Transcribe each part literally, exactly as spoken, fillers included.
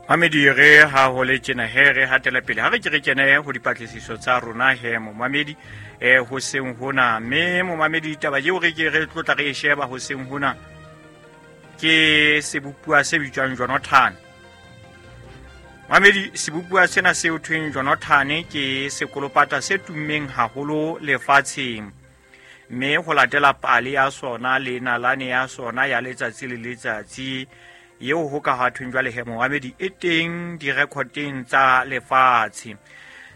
Mamedi re ha ho le tjena he re hatela pele ha re ke re kene ho dipatlisiso tsa rona he momamedi eh ho seng hona mme momamedi taba eo re ke re tlotla re e sheba ho seng hona ke sebopuwa se bitswang Jonathan. Mamedi sebopuwa sena se ho thweng Jonathan ke sekolopata se tummeng haholo lefatsheng mme ho latela pale ya sona le nalane ya sona ya letsatsi le letsatsi eo ho ka ha thweng jwale he momamedi e teng direkoteng tsa lefatshe.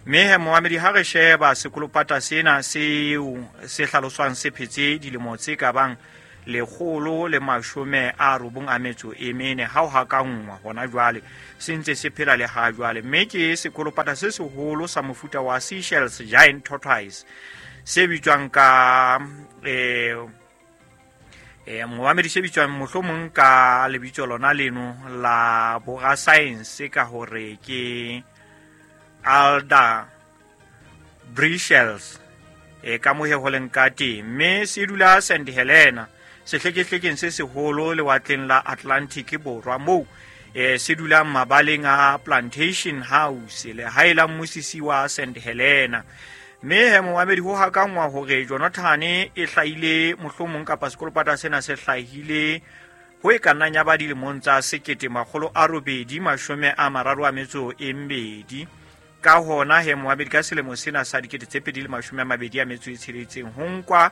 Mme he momamedi ha re sheba sekolopata sena seo se hlaloswang se phetse dilemo tse ka bang lekgolo le mashome a robong a metso e mene ha ho hakangwa hona jwale se ntse se phela le ha jwale. Mme ke sekolopata se seholo sa mofuta wa Seychelles giant tortoise se bitswang ka eh eh momamedi se bitswang mohlomong ka lebitso lona leno la borasaense ka hore ke Alda Brishels e ka mohe ho leng ka teng mme se dula Saint Helena sehlekehlekeng se seholo lewatleng la Atlantic borwa moo e se dulang mabaleng a Plantation House lehae la mmusisi wa Saint Helena. Mme he momamedi ho hakangwa hore Jonathan e hlahile mohlomong kapa sekolopata sena se hlahile ho e ka nnang ya ba dilemong tsa sekete makgolo a robedi mashome a mararo a metso e mmedi. Ka hona he momamedi ka selemo sena sa dikete tse pedi le mashome a mabedi a metso e tsheletseng ho nkwa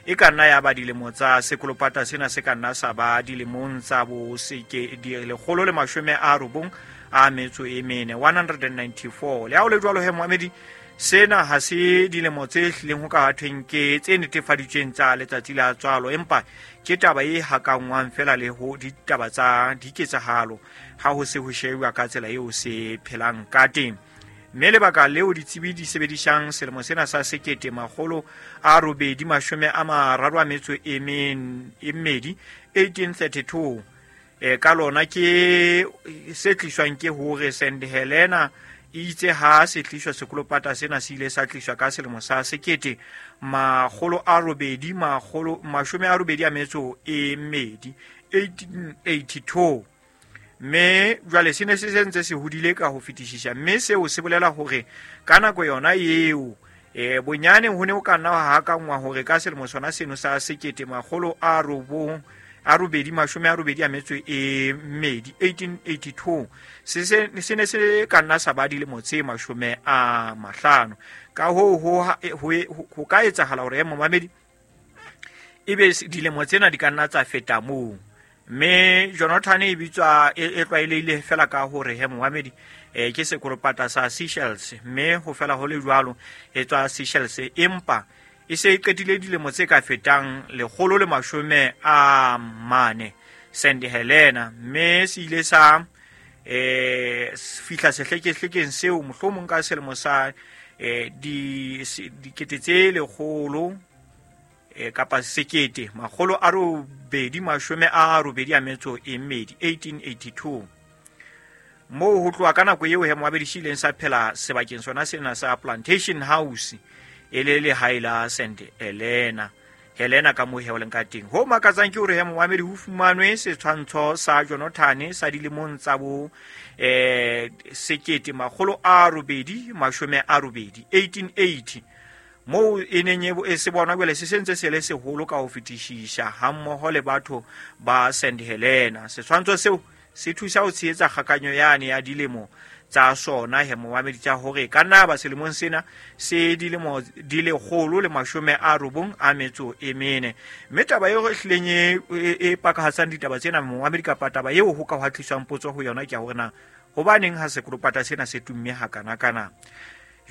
e ka nna ya ba dilemo tsa sekolopata sena se ka nna sa ba dilemong tsa bo seke lekgolo le mashome a robong a metso e mene one hundred and ninety-four. Le ha ho le jwalo he momamedi sena ha se dilemo tse hlileng ho ka thweng ke tse netefaditsweng tsa letsatsi la tswalo empa ke taba e hakangwang fela le ho ditaba tsa diketsahalo ha ho se ho shebuwa ka tsela eo se phelang ka teng. Mme lebaka leo ditsebi di sebedisang selemo sena sa sekete makgolo a robedi mashome a mararo a metso e mmedi eighteen thirty-two e ka lona ke se tliswang ke hore Saint Helena itse ha se tliswa sekolopata sena se ile sa tliswa ka selemo sa sekete makgolo a robedi makgolo mashome a robedi a metso e mmedi eighteen eighty-two. Mme jwale se ne se sentse se hodile ka ho fetisisa mme seo se bolela hore ka nako yona eo e bonyane ho ne ho ka nna ha hakangwa hore ka selemo sona seno sa sekete makgolo a robong a robedi mashome a robedi a metso e mmedi eighteen eighty-two se se ne se ka nna sa ba dilemo tse mashome a mahlano. Ka hoo ho ho ka etsahala hore momamedi ebe dilemo tsena di ka nna tsa feta moo. Mme Jonathan e bitswa e tlwaelehile fela ka hore he momamedi e ke sekolopata sa Seychelles mme ho fela ho le jwalo e tswa Seychelles empa e se e qetile dilemo tse ka fetang lekgolo le mashome a mane Saint Helena mme se ile sa eh fihla sehlekehlekeng seo mohlomong ka selemo sa eh di dikete tse lekgolo e kapa sekete makgolo a robedi mashome a robedi a metso e mmedi eighteen eighty-two. Moo ho tloha ka nako eo he momamedi se ileng sa phela sebakeng sona sena sa Plantation House e le lehae la Saint Helena Helena ka moo he ho leng ka teng. Ho makatsang ke hore he momamedi ho fumanwe setshwantsho sa Jonathan sa dilemong tsa bo eh sekete makgolo a robedi mashome a robedi eighteen eighty moo e neng e se bonwa jwale se sentse se le seholo ka ho fetisisa hammoho le batho ba Saint Helena. Setshwantsho seo se thusa ho tshehetsa kgakanyo yane ya dilemo tsa sona he momamedi tsa hore ka nna ba selemong sena se dilemo di lekgolo le mashome a robong a metso e mene. Mme taba eo e hlileng e pakahatsang ditaba tsena momamedi kapa taba eo ho ka hwa tliswang potso ho yona ke ya hore na hobaneng ha sekolopata sena se tumme hakanakana.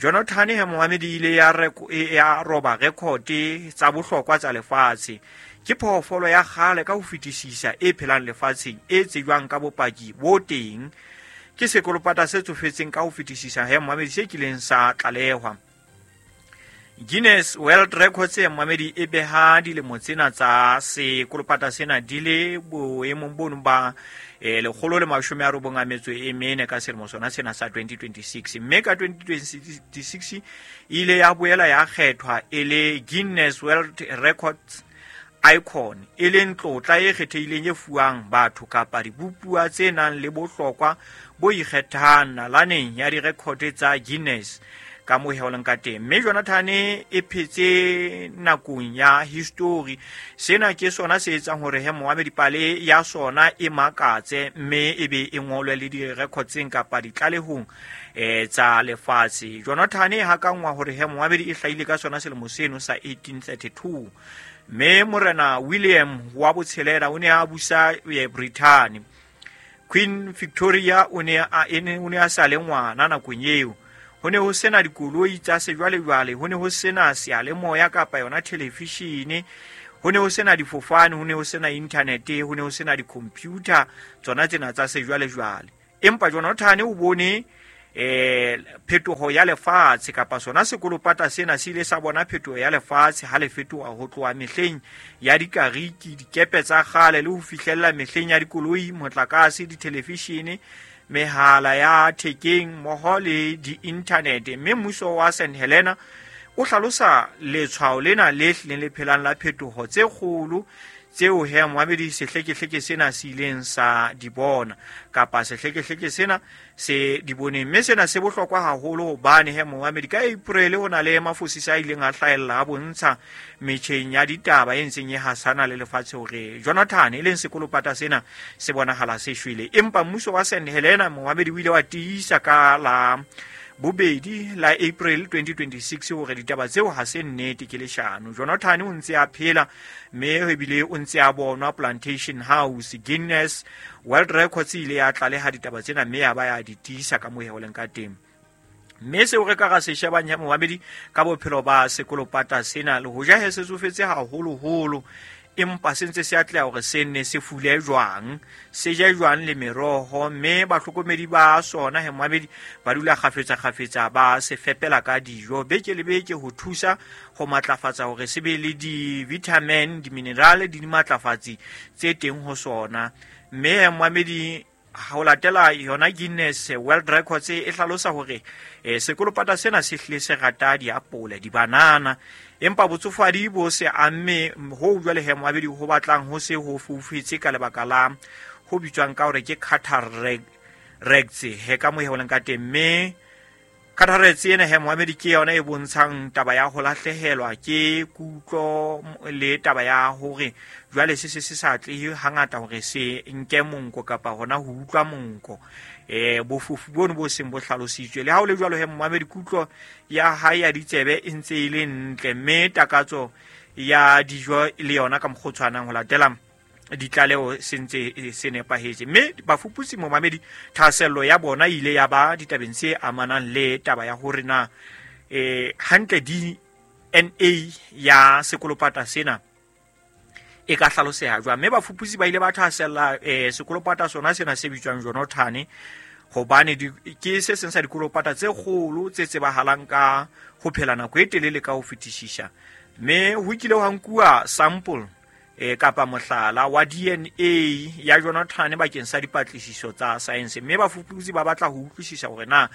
Jonathan he momamedi ile ya ya roba rekote tsa bohlokwa tsa lefatshe. Ke phoofolo ya kgale ka ho fetisisa e phelang lefatsheng e tsejwang ka bopaki bo teng. Ke sekolopata se tsofetseng ka ho fetisisa he momamedi se kileng sa tlalehwa. Guinness World Records ya momamedi e beha dilemo tsena tsa sekolopata sena di le boemong bono ba eh lekgolo le mashome a robong a metso e mene ka selemo sona sena sa twenty twenty-six. Mme ka twenty twenty-six ile ya boela ya kgethwa e le Guinness World Records Icon, e leng tlotla e kgethehileng e fuwang batho kapa dibopuwa tse nang le bohlokwa bo ikgethang nalaneng ya direkote tsa Guinness ka moo he ho leng ka teng. Mme Jonathan e phetse nakong ya history. Sena ke sona se etsang hore he moamedi pale ya sona e makatse mme e be e ngolwe le direkotseng kapa ditlalehong eh tsa lefatshe. Jonathan e hakangwa hore he moamedi e hlahile ka sona selemo seno sa eighteen thirty-two. Mme Morena William wa botshelela o ne a busa Britain. Queen Victoria o ne a o ne a sa le ngwana nakong eo. Ho ne ho sena dikoloi tsa sejwalejwale, ho ne ho sena seyalemoya kapa yona televishene, ho ne ho sena difofane, ho ne ho sena internet, ho ne ho sena di-computer tsona tsena tsa sejwalejwale. Empa Jonathan o bone eh phetoho ya lefatshe kapa sona sekolopata sena se ile sa bona phetoho ya lefatshe ha le fetoha ho tloha mehleng ya dikariki, dikepe tsa kgale le ho fihlella mehleng ya dikoloi, motlakase, dithelevishene, mehala ya thekeng mmoho le di-internet. Mme mmuso wa Saint Helena o hlalosa letshwao lena le hlileng le phelang la phetoho tse kgolo tseo he moamedi sehlekehleke sena se ileng sa di bona kapa sehlekehleke sena se di boneng. Mme sena se bohlokwa haholo hobane he moamedi ka April ho na le mafosisa a ileng a hlahella a bontsha metjheng ya ditaba e ntseng e hasana le lefatshe hore Jonathan e leng sekolopata sena se bonahala se shwele. Empa mmuso wa Saint Helena moamedi o ile wa tiisa ka la bobedi la April twenty twenty-six hore ditaba tseo ha se nnete, ke leshano. Jonathan o ntse a phela mme ebile o ntse a bonwa Plantation House. Guinness World Records ile ya tlaleha ditaba tsena mme ya ba ya di tiisa ka moo ho leng ka teng. Mme seo re ka ra se shebang ya moamedi ka bophelo ba sekolopata sena, le hoja he se tsofetse haholoholo, empa se ntse se atleha hore se nne se fule jwang, se je jwang le meroho, mme bahlokomedi ba sona he moamedi ba dula kgafetsa kgafetsa ba se fepela ka dijo beke le beke ho thusa ho matlafatsa hore se be le di-vitamin, di-mineral, di dimatlafatsi tse teng ho sona. Mme moamedi ho latela yona Guinness World Records e hlalosa hore eh, sekolopata sena se hlile se rata diapole, dibanana, empa botsofadi bo se amme ho jwale he moabedi ho batlang ho se ho foufetse ka lebaka la ho bitswang ka hore ke cataracts he ka moo he ho leng ka teng. Mme cataracts ena he moamedi ke yona e bontshang taba ya ho lahlehelwa ke kutlo le taba ya hore jwale se se se sa atlehe hangata hore se nke monko kapa hona ho utlwa monko. Eh bofofu bono bo seng bo hlalositswe. Le ha ho le jwalo he moamedi kutlo ya hae ya ditsebe e ntse e le ntle, mme takatso ya dijo le yona ka mokgwa o tshwanang ho latela ditlaleho se ntse se nepahetse. Mme bafuputsi momamedi thahasello ya bona ile ya ba ditabeng tse amanang le taba ya hore na eh hantle D N A ya sekolopata sena e ka hlaloseha jwang. Mme bafuputsi ba ile ba thahasella eh sekolopata sona sena se bitswang Jonathan, hobane ke se seng sa dikolopata tse kgolo tse tsebahalang ka ho phela nako e telele ka ho fetisisa. Mme ho kile ha nkuwa sample e kapa mohlala wa D N A ya Jonathan bakeng sa dipatlisiso tsa science. Mme bafuputsi ba batla ho utlwisisa hore na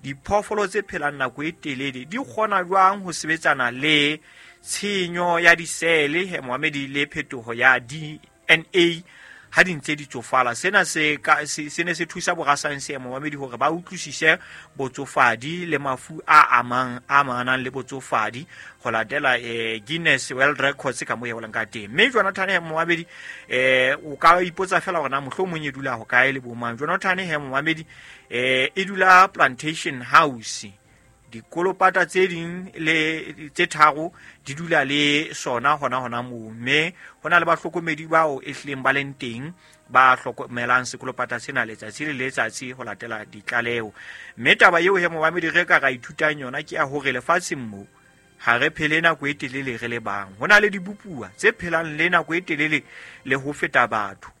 diphoofolo tse phelang nako e telele di kgona jwang ho sebetsana le tshenyo ya disele he moamedi le phetoho ya D N A ha di ntse di tsofala. Sena se ka se ne se thusa borasaense moamedi hore ba utlwisise botsofadi le mafu a amang a amanang le botsofadi ho latela eh, Guinness World Records ka moo e bolang ka teng. Mme Jonathan he moamedi eh o ka ipotsa fela hore na mohlomong e dula ho kae le bomang. Jonathan he moamedi eh e dula Plantation House. Dikolopata tse ding le tse tharo di dula le sona hona hona moo, mme hona le bahlokomedi bao e hlileng ba leng teng ba hlokomelang sekolopata sena letsatsi le letsatsi ho latela ditlaleho. Mme taba eo he moamedi re ka ra ithutang yona ke ya hore lefatsheng mo ha re phele nako e telele re le bang. Ho na le dibopuwa tse phelang le nako e telele le ho feta batho.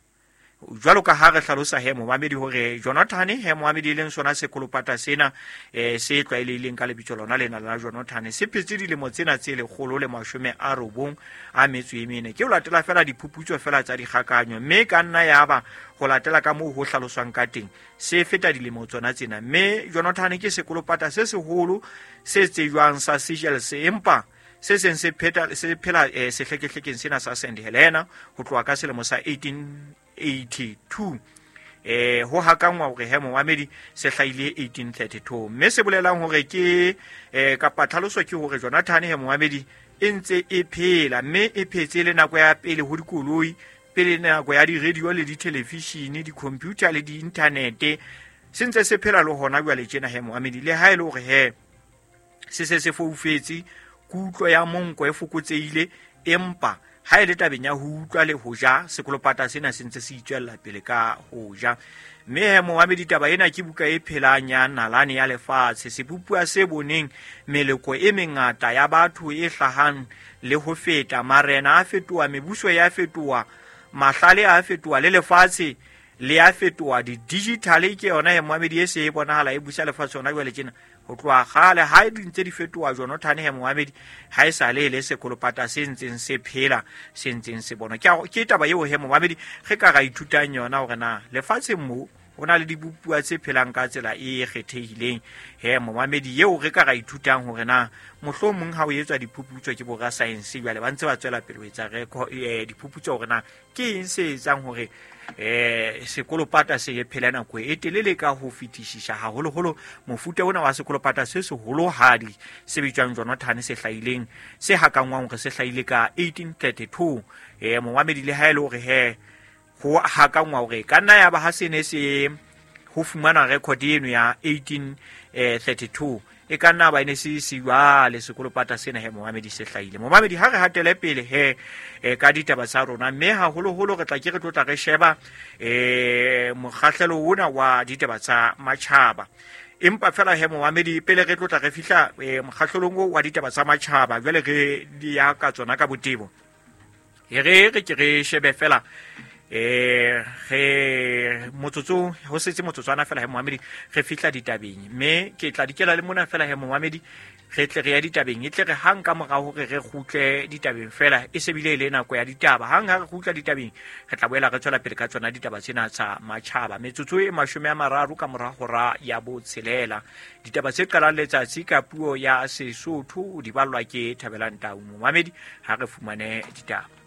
Jwalo ka ha re hlalosa he momamedi hore Jonathan he momamedi e leng sona sekolopata sena eh se tlwaelehileng ka lebitso lona lena la Jonathan se phetse dilemo tsena tse lekgolo le mashome a robong a metso e mene. Ke ho latela fela diphuputso fela tsa dikgakanyo, mme ka nna ya ba ho latela ka moo ho hlaloswang ka teng se feta dilemo tsona tsena. Mme Jonathan ke sekolopata se seholo se tsejwang sa Seychelles, empa se seng se pheta se phela eh, sehlekehlekeng sena sa Saint Helena ho tloha ka selemo sa eighteen eighty-two. Eh ho hakangwa hore he momamedi se hlahile eighteen thirty-two, mme se bolelang hore ke eh kapa tlhaloso ke hore Jonathan he momamedi e ntse e phela, mme e phetse le nako ya pele ho dikoloi, pele nako ya di-radio le di-television, di-computer le di-internet, se ntse se phela le hona jwale tjena he momamedi. Le ha e le hore he se se se foufetse, kutlo ya monko e fokotsehile, empa ha e le tabeng ya ho utlwa le ho ja, sekolopata sena se ntse se itswella pele ka ho ja. Mme he momamedi, taba ena ke buka e phelang ya nalane ya lefatshe, sebopuwa se boneng meloko e mengata ya batho e hlahang le ho feta, marena a fetoha, mebuso ya fetoha, mahlale a fetoha, le lefatshe le a fetoha. Di-digital ke yona he momamedi e se e bonahala e busa lefatshe hona jwale tjena. Ho tloha kgale ha di ntse di fetoha Jonathan he momamedi, ha e sa le le sekolopata se ntseng se phela, se ntseng se bona. Ke ke taba eo he momamedi re ka ra ithutang yona hore na lefatsheng mo ho na le dibopuwa tse phelang ka tsela e kgethehileng he momamedi, eo re ka ra ithutang hore na mohlomong ha o etswa diphuputso ke borasaense jwale ba ntse ba tswela pele ho etsa eh, diphuputso hore na ke eng se etsang hore eh sekolopata se e phela nako e telele ka ho fetisisa, haholoholo mofuta ona wa sekolopata se seholohadi se bitswang Jonathan se hlahileng, se hakangwang hore se hlahile ka eighteen thirty-two. Eh momamedi, le ha e le hore he ho hakangwa hore ka nna ya ba ha se ne se ho fumana record eno ya eighteen thirty-two, e ka nna ba ne se se jwale sekolopata sena he momamedi se hlahile. Momamedi, ha re hatele pele he e, ka ditaba tsa rona, mme haholoholo re tla ke re tlotla re sheba eh mokgahlelo ona wa ditaba tsa matjhaba. Empa fela he momamedi, pele re tlotla re fihla e, mokgahlelong wa ditaba tsa matjhaba, jwale re di ya ka tsona ka botebo, e re re ke re shebe fela eh re motsotso ho setse motsotswana fela he momamedi re fihla ditabeng, mme ke tla dikela le mona fela he momamedi re tle re ya ditabeng, e tle re hang ka mora hore re kgutle ditabeng fela e se bile le nako ya ditaba. Hang ha re kgutla ditabeng re tla boela re tswela pele ka tsona ditaba tsena tsa matjhaba. Metsotso e mashome a mararo ka mora hora ya botshelela, ditaba tse qalang letsatsi ka puo ya Sesotho di ballwa ke Thabelang Tau. Momamedi, ha re fumane ditaba.